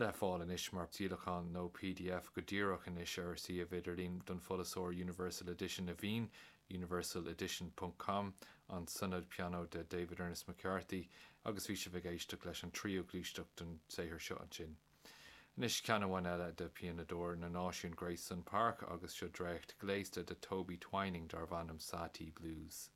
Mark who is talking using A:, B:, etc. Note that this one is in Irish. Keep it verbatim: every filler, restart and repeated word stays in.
A: Le fáil anois mar díolachán nó PDF go díreach anois ar suíomh idirlín don fhoilsitheoir Universal Edition a Vín, universaledition.com an Sonáta pianó de David Ernest McCarthy agus bhí sibh ag éisteacht leis an tríú gluaiseacht den saothar seo ansin. Anois ceann amháin eile de pianadóir na náisiún Grace Sun Park agus seo dréacht gléasta de Toby Twining darb ainm Satie Blues.